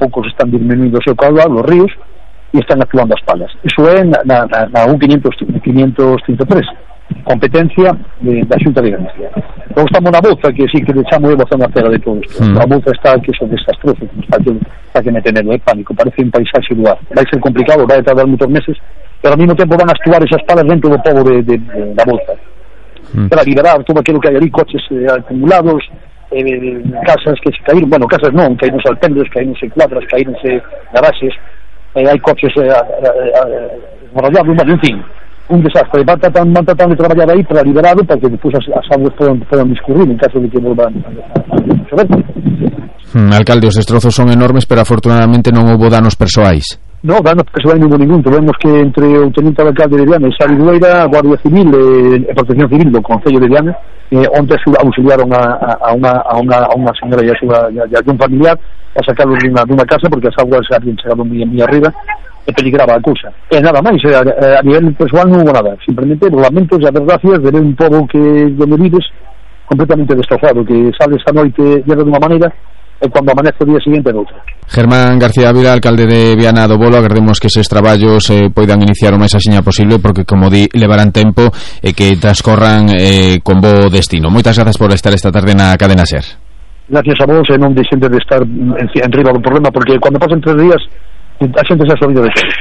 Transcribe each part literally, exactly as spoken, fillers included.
pouco se están disminuindo o seu caudal, os ríos, e están actuando as palas. Iso é na, na, na U quinientos trinta e tres, competencia de, da Xunta de Galicia. Logo estamos na Boza, que sí que le chamo eu a zona cera de todo isto. Mm. A Boza está que son desastrosos, está que, está que me tener de pánico, parece un paisaxe do ar. Vai ser complicado, vai tardar moitos meses, pero ao mesmo tempo van a actuar esas palas dentro do pobo de, de, de da Boza. Mm. Para liberar todo aquilo que hai ali, coches eh, acumulados, eh, casas que se caíron, bueno, casas non, caíronse alpendres, caíronse cuadras, caíronse garaxes, eh, hai coches eh, enrollados, bueno, en fin, un desastre. Van tratando, van tratando de traballar aí para liberarlo, para que despois as, as aguas podan, podan discurrir en caso de que volvan a, a, a chover. Hmm, alcalde, os destrozos son enormes, pero afortunadamente non houbo danos persoais. No, danos persoais non houbo ningún. Tuvemos que entre o teniente alcalde de Viana e Sari Dueira, a Guardia Civil e eh, Protección Civil do Concello de Viana, eh, onde auxiliaron a, a, a, unha, a, unha, a unha señora e a súa e a un familiar a sacarlos dunha, dunha casa porque as aguas habían chegado moi, moi arriba e peligraba a cousa. E nada máis, a, a nivel persoal non houve nada, simplemente lamentos e desgracias de ver un pobo que donde vives completamente destrozado, que sale esta noite llega dunha maneira e cando amanece o día seguinte noutra. Germán García Ávila, alcalde de Viana do Bolo, agardemos que eses traballos eh, poidan iniciar o máis axiña posible, porque, como di, levarán tempo e que transcorran eh, con bo destino. Moitas grazas por estar esta tarde na Cadena SER. Gracias a vos, e non deixen de estar en, en riba do problema, porque cando pasen tres días a xente se ha sorrido de todo.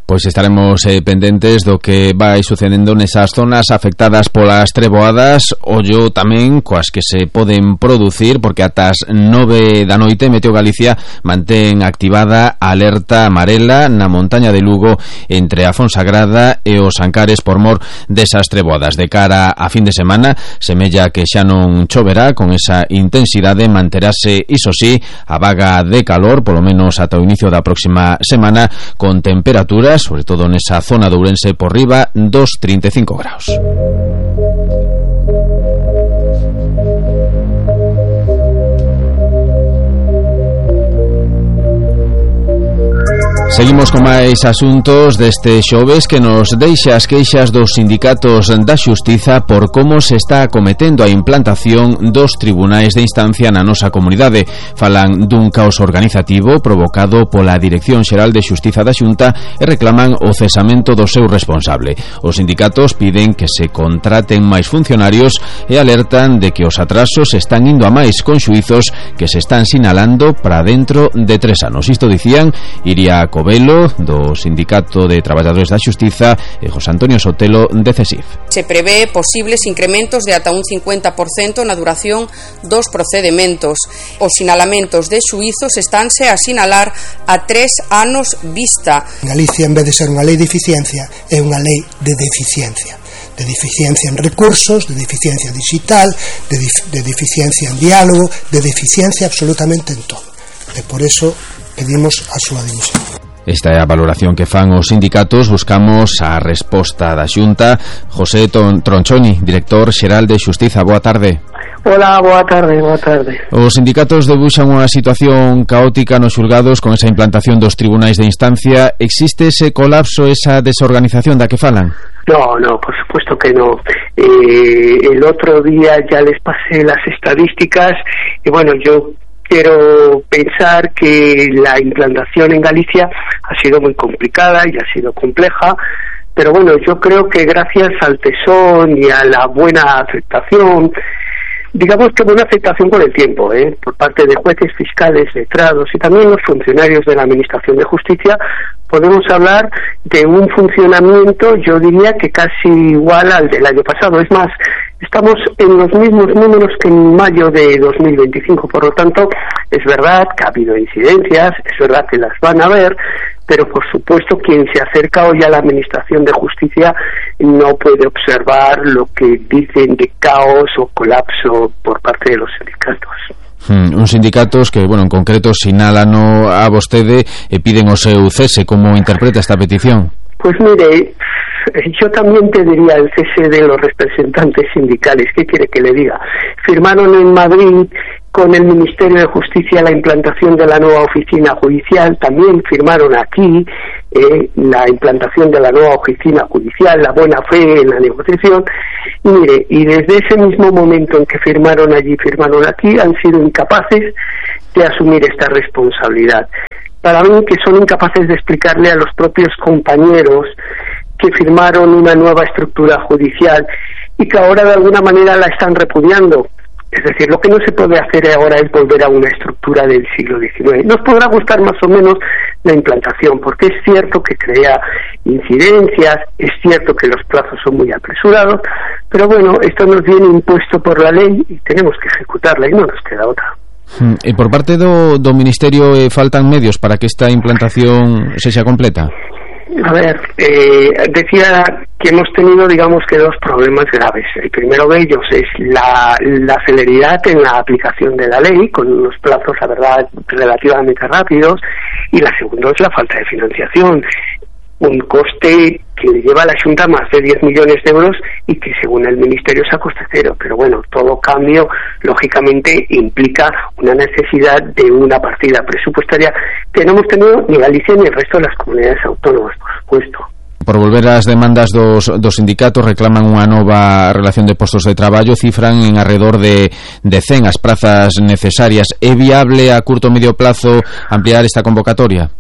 Pois estaremos eh, pendentes do que vai sucedendo nesas zonas afectadas polas treboadas, ollo tamén coas que se poden producir, porque ata as nove da noite Meteo Galicia mantén activada a alerta amarela na montaña de Lugo entre a Fonsagrada e os Ancares por mor desas treboadas. De cara a fin de semana, semella que xa non choverá con esa intensidade, manterase, iso sí, a vaga de calor, polo menos ata o inicio da próxima semana, con temperaturas sobre todo nesa zona de Ourense por riba dos trinta e cinco graus. Seguimos con máis asuntos deste xoves que nos deixa as queixas dos sindicatos da Xustiza por como se está acometendo a implantación dos tribunais de instancia na nosa comunidade. Falan dun caos organizativo provocado pola Dirección Xeral de Xustiza da Xunta e reclaman o cesamento do seu responsable. Os sindicatos piden que se contraten máis funcionarios e alertan de que os atrasos están indo a máis con xuizos que se están sinalando para dentro de tres anos. Isto dicían Iria Covelo, do Sindicato de Traballadores da Xustiza, e José Antonio Sotelo, de CESIF. Se prevé posibles incrementos de ata un cincuenta por cento na duración dos procedementos. Os sinalamentos de xuizos estánse a sinalar a tres anos vista. Galicia, en vez de ser unha lei de eficiencia, é unha lei de deficiencia. De deficiencia en recursos, de deficiencia digital, de, dif- de deficiencia en diálogo, de deficiencia absolutamente en todo. E por eso pedimos a súa dimisión. Esta é a valoración que fan os sindicatos. Buscamos a resposta da Xunta. José Tronchoni, director xeral de Xustiza, boa tarde. Hola, boa tarde, boa tarde. Os sindicatos debuxan unha situación caótica nos xulgados con esa implantación dos tribunais de instancia. Existe ese colapso, esa desorganización da que falan? No, no, por supuesto que no. Eh, el otro día ya les pasé las estadísticas y bueno, yo quiero pensar que la implantación en Galicia ha sido muy complicada y ha sido compleja, pero bueno, yo creo que gracias al tesón y a la buena aceptación, digamos que buena aceptación con el tiempo, ¿eh? por parte de jueces, fiscales, letrados y también los funcionarios de la Administración de Justicia, podemos hablar de un funcionamiento, yo diría que casi igual al del año pasado. Es más, estamos en los mismos números que en mayo de dos mil veinticinco, por lo tanto, es verdad que ha habido incidencias, es verdad que las van a haber, pero por supuesto quien se acerca hoy a la Administración de Justicia no puede observar lo que dicen de caos o colapso por parte de los sindicatos. Hmm, uns sindicatos que, bueno, en concreto sinalan a vostede e piden o seu cese. Como interpreta esta petición? Pues mire, yo también pediría el cese de los representantes sindicales. ¿Qué quiere que le diga? Firmaron en Madrid con el Ministerio de Justicia la implantación de la nueva oficina judicial, también firmaron aquí eh, la implantación de la nueva oficina judicial, la buena fe en la negociación, y mire, y desde ese mismo momento en que firmaron allí, firmaron aquí, han sido incapaces de asumir esta responsabilidad. para mí que son incapaces de explicarle a los propios compañeros que firmaron una nueva estructura judicial y que ahora de alguna manera la están repudiando. Es decir, lo que no se puede hacer ahora es volver a una estructura del siglo diecinueve. Nos podrá gustar más o menos la implantación, porque es cierto que crea incidencias, es cierto que los plazos son muy apresurados, pero bueno, esto nos viene impuesto por la ley y tenemos que ejecutarla y no nos queda otra. E por parte do, do Ministerio eh, faltan medios para que esta implantación sexa completa? A ver, eh, decía que hemos tenido, digamos que dos problemas graves. El primero de ellos es la, la celeridad en la aplicación de la ley, con unos plazos, la verdad, relativamente rápidos, y la segunda es la falta de financiación. Un coste que le lleva a la Xunta más de diez millones de euros y que según el Ministerio es a coste cero. Pero bueno, todo cambio, lógicamente, implica una necesidad de una partida presupuestaria que no hemos tenido ni Galicia ni el resto de las comunidades autónomas, por supuesto. Por volver ás demandas dos, dos sindicatos, reclaman unha nova relación de postos de traballo, cifran en alrededor de, de cen as prazas necesarias. É viable a curto o medio plazo ampliar esta convocatoria?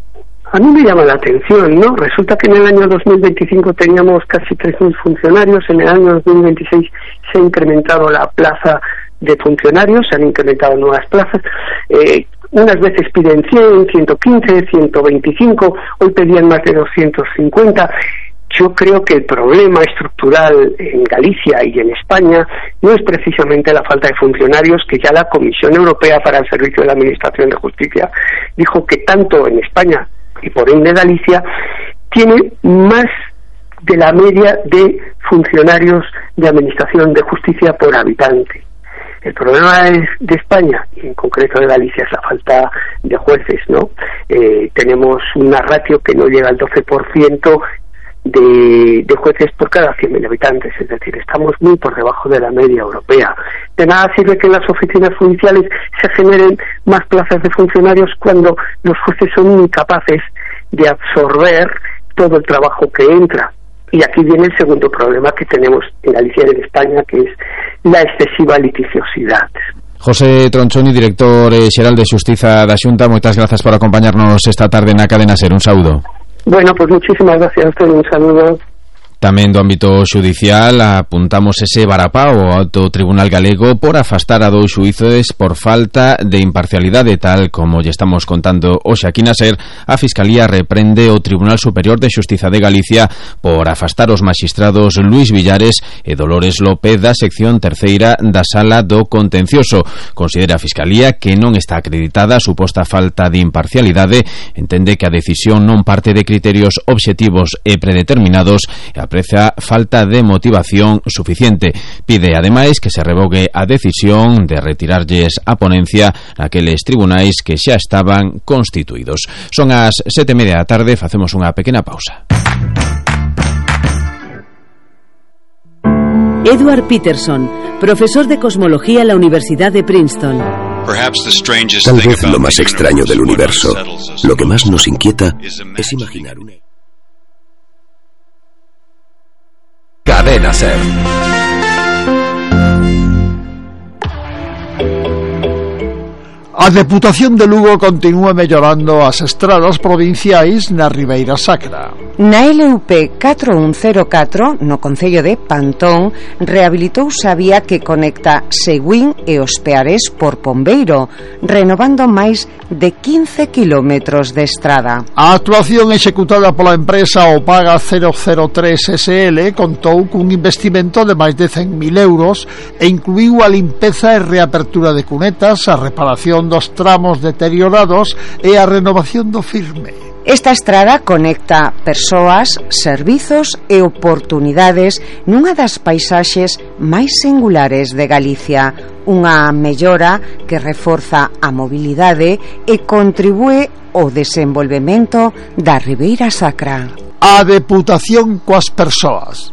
A mí me llama la atención, ¿no? Resulta que en el año dos mil veinticinco teníamos casi tres mil funcionarios, en el año dos mil veintiséis se ha incrementado la plaza de funcionarios, se han incrementado nuevas plazas, eh, unas veces piden cien, ciento quince, ciento veinticinco, hoy pedían más de doscientos cincuenta. Yo creo que el problema estructural en Galicia y en España no es precisamente la falta de funcionarios, que ya la Comisión Europea para el Servicio de la Administración de Justicia dijo que tanto en España y por ende Galicia tiene más de la media de funcionarios de administración de justicia por habitante. El problema es de España, y en concreto de Galicia, es la falta de jueces, ¿no? Eh, tenemos una ratio que no llega al doce por ciento de, de jueces por cada cien mil habitantes, es decir, estamos muy por debajo de la media europea. De nada sirve que en las oficinas judiciales se generen más plazas de funcionarios cuando los jueces son incapaces de absorber todo el trabajo que entra. Y aquí viene el segundo problema que tenemos en Galicia y en España, que es la excesiva liticiosidad. José Tronchoni, director xeral de Xustiza da Xunta, moitas grazas por acompañarnos esta tarde na Cadena Ser. Un saúdo. Bueno, pues muchísimas gracias a usted, un saludo. Tamén do ámbito xudicial apuntamos ese varapá ao Alto Tribunal Galego por afastar a dous xuíces por falta de imparcialidade, tal como lle estamos contando hoxe aquí na Ser. A Fiscalía reprende o Tribunal Superior de Xustiza de Galicia por afastar os maxistrados Luis Villares e Dolores López da sección terceira da Sala do Contencioso. Considera a Fiscalía que non está acreditada a suposta falta de imparcialidade, entende que a decisión non parte de criterios obxectivos e predeterminados e aprecia falta de motivación suficiente. Pide ademais que se revogue a decisión de retirarlles a ponencia naqueles tribunais que xa estaban constituídos. Son as sete e media da tarde, facemos unha pequena pausa. Edward Peterson, profesor de cosmología en la Universidad de Princeton. Tal vez lo más extraño del universo, lo que más nos inquieta, es imaginar una... Cadena Ser. A Deputación de Lugo continúa mellorando as estradas provinciais na Ribeira Sacra. Na L U P catro un cero catro, no concello de Pantón, rehabilitouse a vía que conecta Seguín e Os Peares por Pombeiro, renovando máis de quince kilómetros de estrada. A actuación executada pola empresa Opaga cero cero tres S L contou cun investimento de máis de cen mil euros e incluíu a limpeza e reapertura de cunetas, a reparación dos tramos deteriorados e a renovación do firme. Esta estrada conecta persoas, servizos e oportunidades nunha das paisaxes máis singulares de Galicia, unha mellora que reforza a mobilidade e contribúe ao desenvolvemento da Ribeira Sacra. A Deputación coas persoas.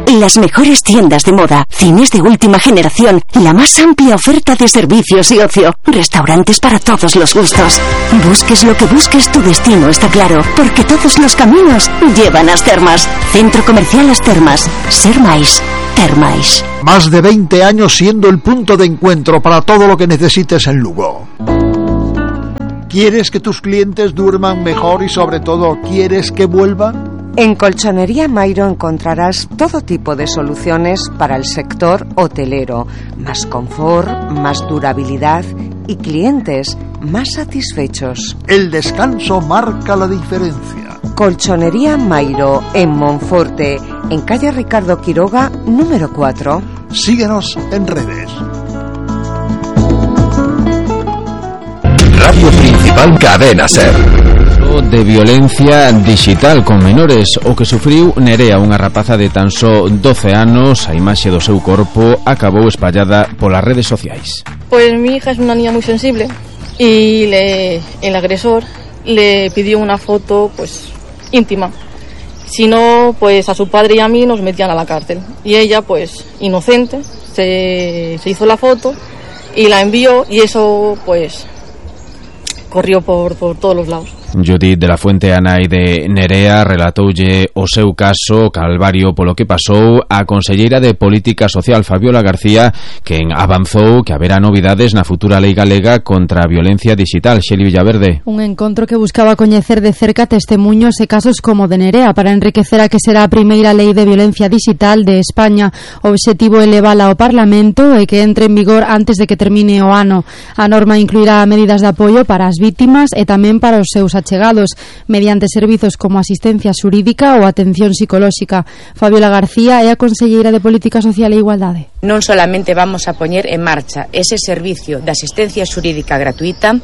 Las mejores tiendas de moda, cines de última generación, la más amplia oferta de servicios y ocio, restaurantes para todos los gustos. Busques lo que busques, tu destino está claro, porque todos los caminos llevan a As Termas. Centro Comercial As Termas. Ser máis, ter máis. Más de veinte años siendo el punto de encuentro para todo lo que necesites en Lugo. ¿Quieres que tus clientes duerman mejor y sobre todo quieres que vuelvan? En Colchonería Mairo encontrarás todo tipo de soluciones para el sector hotelero, más confort, más durabilidad y clientes más satisfechos. El descanso marca la diferencia. Colchonería Mairo en Monforte, en calle Ricardo Quiroga, número cuatro. Síguenos en redes. Radio Principal Cadena Ser. De violencia digital con menores, o que sufriu Nerea, unha rapaza de tan só doce anos. A imaxe do seu corpo acabou espallada polas redes sociais. Pues mi hija es una niña muy sensible y le, el agresor le pidió una foto pues íntima. Si no, pues a su padre y a mí nos metían a la cárcel. Y ella, pues inocente, se, se hizo la foto y la envió, y eso pues corrió por, por todos los lados. Judith de la Fuente, a nai de Nerea, relatoulle o seu caso calvario polo que pasou a conselleira de Política Social, Fabiola García, quen avanzou que haberá novidades na futura lei galega contra a violencia digital. Xeli Villaverde. Un encontro que buscaba coñecer de cerca testemunhos e casos como de Nerea para enriquecer a que será a primeira lei de violencia digital de España. O obxectivo é levala ao Parlamento e que entre en vigor antes de que termine o ano. A norma incluirá medidas de apoio para as vítimas e tamén para os seus achegados, mediante servizos como asistencia xurídica ou atención psicolóxica. Fabiola García é a conselleira de Política Social e Igualdade. Non solamente vamos a poñer en marcha ese servicio de asistencia xurídica gratuita,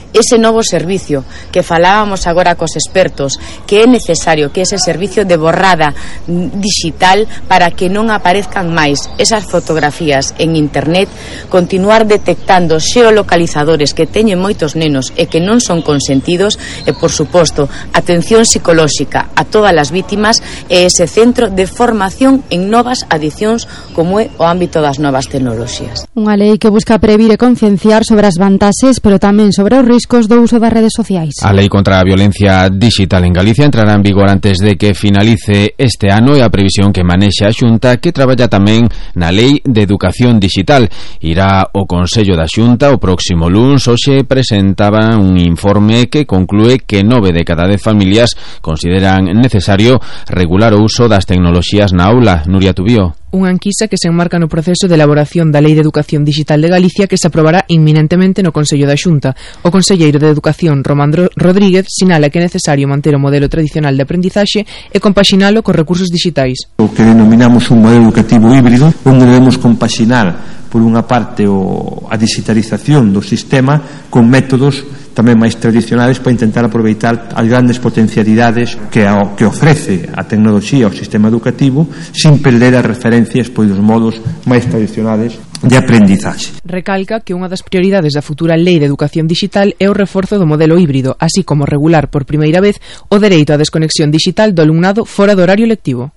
ese novo servicio que falábamos agora cos expertos, que é necesario que ese servicio de borrada digital para que non aparezcan máis esas fotografías en internet, continuar detectando xeolocalizadores que teñen moitos nenos e que non son consentidos, e por suposto atención psicolóxica a todas as vítimas, e ese centro de formación en novas adicións como é o ámbito das novas tecnoloxías. Unha lei que busca previr e concienciar sobre as vantaxes, pero tamén sobre os riscos do uso das redes sociais. A lei contra a violencia digital en Galicia entrará en vigor antes de que finalice este ano, e a previsión que manexa a Xunta, que traballa tamén na lei de educación digital. Irá o Consello da Xunta o próximo luns. Hoxe presentaba un informe que conclúe que nove de cada dez familias consideran necesario regular o uso das tecnoloxías na aula. Nuria Tubío. Unha enquisa que se enmarca no proceso de elaboración da Lei de Educación Digital de Galicia, que se aprobará inminentemente no Consello da Xunta. O conselleiro de Educación, Román Rodríguez, sinala que é necesario manter o modelo tradicional de aprendizaxe e compaxinalo cos recursos digitais. O que denominamos un modelo educativo híbrido, onde debemos compaxinar por unha parte o, a digitalización do sistema con métodos tamén máis tradicionales para intentar aproveitar as grandes potencialidades que, a, que ofrece a tecnoloxía ao sistema educativo, sin perder as referencias pois dos modos máis tradicionales de aprendizaxe. Recalca que unha das prioridades da futura Lei de Educación Digital é o reforzo do modelo híbrido, así como regular por primeira vez o dereito á desconexión digital do alumnado fora do horario lectivo.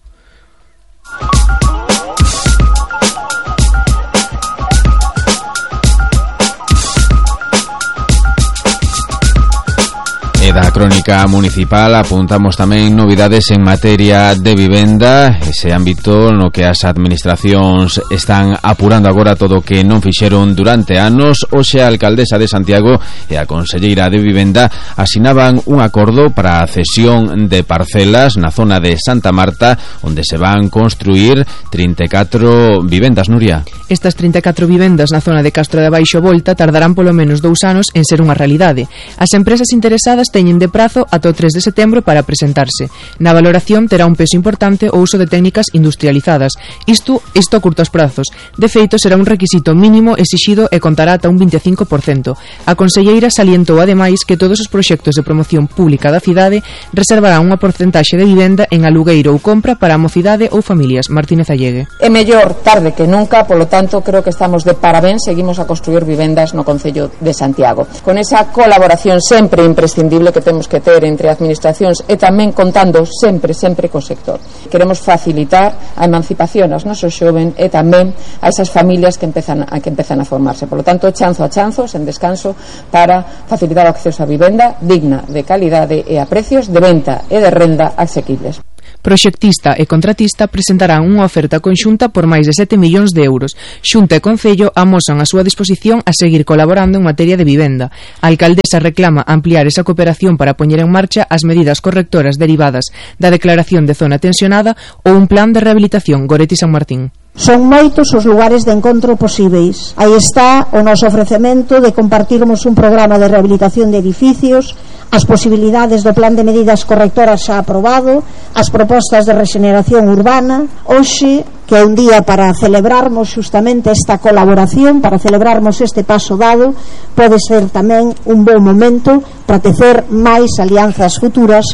E da crónica municipal apuntamos tamén novidades en materia de vivenda, ese ámbito no que as administracións están apurando agora todo o que non fixeron durante anos. Hoxe a alcaldesa de Santiago e a conselleira de vivenda asinaban un acordo para a cesión de parcelas na zona de Santa Marta, onde se van construir trinta e catro vivendas. Nuria. Estas trinta e catro vivendas na zona de Castro de Baixo Volta tardarán polo menos dous anos en ser unha realidade. As empresas interesadas teñen de prazo ata o tres de setembro para presentarse. Na valoración terá un peso importante o uso de técnicas industrializadas. Isto, isto a curtos prazos. De feito, será un requisito mínimo exixido e contará ata un vinte e cinco por cento. A conselleira salientou ademais que todos os proxectos de promoción pública da cidade reservarán unha porcentaxe de vivenda en alugueiro ou compra para a mocidade ou familias. Martínez Allegue. É mellor tarde que nunca, polo tanto, creo que estamos de parabéns, seguimos a construir vivendas no Concello de Santiago. Con esa colaboración sempre imprescindible que temos que ter entre administracións e tamén contando sempre, sempre co sector. Queremos facilitar a emancipación aos nosos xoven e tamén a esas familias que empezan a, que empezan a formarse. Por lo tanto, chanzo a chanzo, sen descanso, para facilitar o acceso a vivenda digna, de calidade e a precios de venta e de renda asequibles. Proxectista e contratista presentarán unha oferta conxunta por máis de sete millóns de euros. Xunta e Concello amosan a súa disposición a seguir colaborando en materia de vivenda. A alcaldesa reclama ampliar esa cooperación para poñer en marcha as medidas correctoras derivadas da declaración de zona tensionada ou un plan de rehabilitación. Goretti San Martín. Son moitos os lugares de encontro posíveis. Aí está o noso ofrecemento de compartirmos un programa de rehabilitación de edificios, as posibilidades do plan de medidas correctoras xa aprobado, as propostas de rexeneración urbana. Hoxe, que é un día para celebrarmos justamente esta colaboración, para celebrarmos este paso dado, pode ser tamén un bon momento para tecer máis alianzas futuras.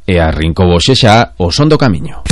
E arrincouse xa o son do camiño.